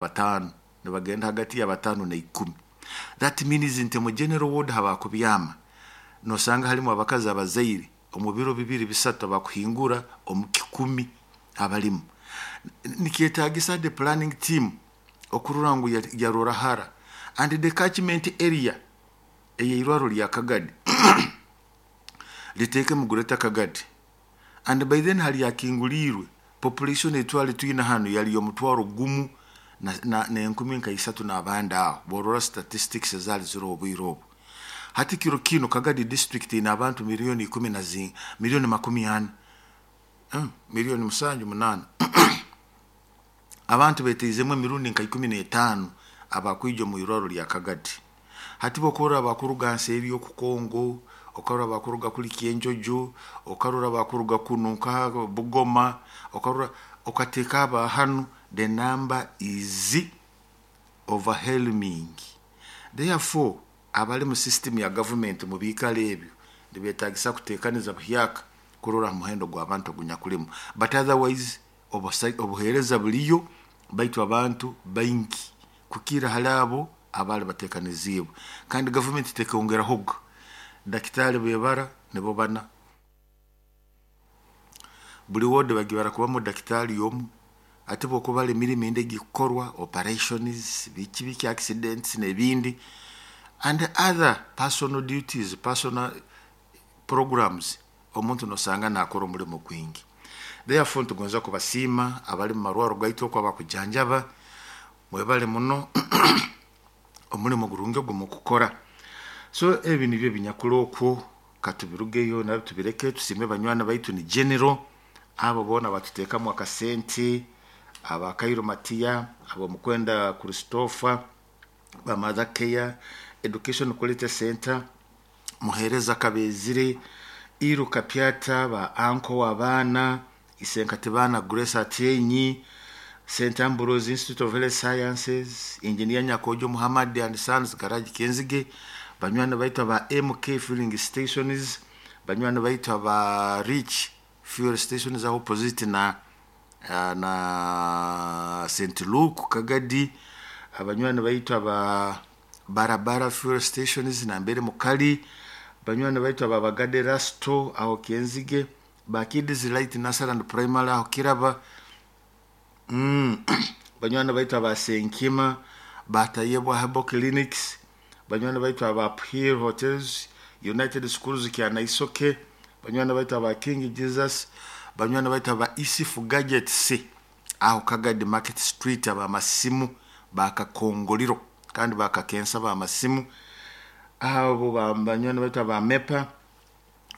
Bataano nibagenda hagati ya 5 na 10. That means nti mu general ward habakubyama nosanga halimu abakazi abazaire omu biro 2, 3 abakuhingura omu 100 abalimu. Nikyetagisa the planning team okurora ngu yarora hara and the catchment area ey'eirwaro lya Kagadi liteekemu Greater Kagadi, and by then hali akinguliirwe. Population etwali twina hanu yali 1000 n'enkumi nka isatu n'abandi aho, borora statistics ezaali ziroho obwire obu. Hati kiro kinu Kagadi District ine abantu miliyoni ikumi na zi miliyoni 40, miliyoni 7, 8. Abantu beteizemu emirundi nka 15 abakwija omu irwaro lya Kagadi. Hati bokurora abakuruga nseeri y'okukongo, okarora abakuruga kuli Kyenjojo, okarora abakuruga kunu nka Bugoma, okarora okateeka aba hanu, the number is overwhelming. Therefore abali mu system ya government mu biikaro ebyo nibetagisa kuteekaniza buhyaka kurora ha muhendo gw'abantu ogunyakulimu, but otherwise obuheereza buliyo, baitu abantu baingi kukira hali abo abaali bateekaniziibwe, kandi gavumenti tekongerahoga. Dakitaali bebara nibo bana, buli ward bagibara kubamu dakitaali omu. Ate bwokubara emirimo endi egikukorwa, operations, biki biki, accidents n'ebindi and other personal duties, personal programs, omuntu nosanga nakora omulimo gwingi. Therefore nitugonza kubasiima abali mu marwaro gaitu oku abakujanjaba. Mwebale muno omulimo gurungi ogu mukukora. So ebi nibyo binyakuli okwo. Katubirugeyo nabyo tubireke, tusiime banywani baitu ni general abo boona batuteekamu akasente, aba Kairo Matiya, ab'omukwenda Christopher, ba Mother Care, Education Quality Center, muheereza Kabezire, Iru Kapyata, ba anko w'abaana, Isenkatibana Grace Atyenyi, St Ambrose Institute of Health Sciences, Engineer Nyakojo Muhammad and Sons Garage Kenzige, banywani baitu aba MK Filling Stations, banywani baitu aba Rich Fuel Stations aho opposite na St Luke Kagadi, abanywani baitu aba Barabara Fuel Stations nambere mukali, banywani baitu aba Bagade Rasto aho Kenzige, ba Kids Light Nursery and Primary aho Kiraba, banywani baitu aba Senkima, Batayebwa Herbal Clinics, banywani baitu aba Hill Hotels, United Schools Kyanaisoke, banywani baitu aba King Jesus, banywani baitu aba Isifu Gadgets aho Kagadi Market Street, abamasimu bakakongoliro kandi bakakensa bamasimu abo, banywani baitu aba Mepa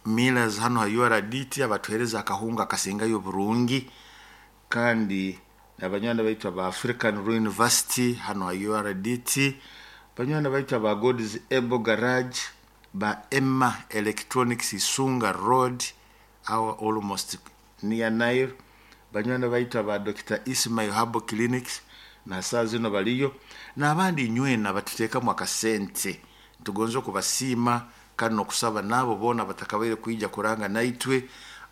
Millers hano ha URDT abatuhereza akahunga akasingayo burungi, kandi abanywani baitu aba African University hano ha URDT, banywani baitu aba God's Able Garage, ba Emma Electronics Isunga Road aho almost near Nile, banywani baitu aba Dr Ismail Herbal Clinics na saa zino baliyo, n'abandi inywena batuteekamu akasente. Tugonza okubasiima kandi n'okusaba n'abo boona batakabaire kwija kuranga naitwe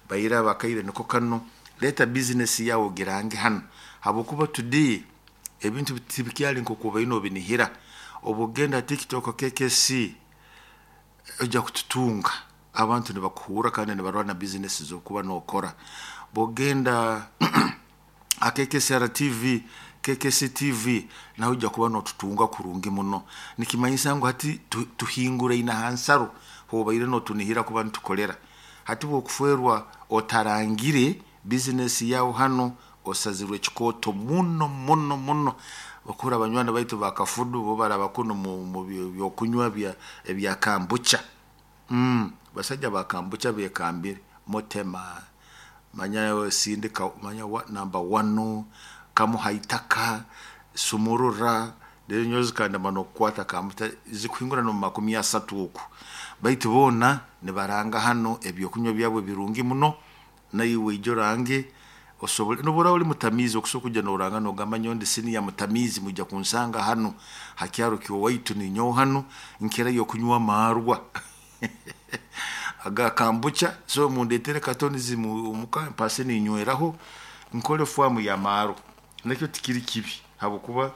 baire abakaire niko kano. Leeta bizinesi yawe ogirange hano, habwokuba today ebintu tibikyali nk'oku obaire nobinihira. Obu ogenda TikTok KKC ojja kututunga, abantu nibakuhurra kandi nibarora na bizinesi z'okuba nokora. Bwogenda KKCR TV, KKC TV, nawe ojja kuba notutunga kurungi muno. Nikimanyisa ngu hati tuhinguraine ha nsaro hobaire notunihira kuba nitukolera. Hati bwokufwerwa otarangire bizinesi yawe hano, osazirwe ekikooto muno muno muno. Okura abanywani baitu bakafudu bo baraba kuno mu byokunywa ebya kambucha, basajja ba kambucha bekambire mutema manya sindika manya wa, number one kamuha itaka sumurura rero nyowe zikandema nokukwata kambucha zikuhingura nomu 30 oku, baitu boona nibaranga hano ebyokunywa byabo birungi muno. Naiwe ija orange osobole nobu oli mutamiizi okusobola kujja noranga nogamba nyowe ndi senior mutamiizi, mwija kunsanga hano ha kyaro kyowaitu, ninyowe hano nkirayo okunywa amaarwa aga kambucha, so mundetere katonizi omuka mpase ninyweraho nkole faamu y'amaarwa. Nakyo tikiri kibi. Habwokuba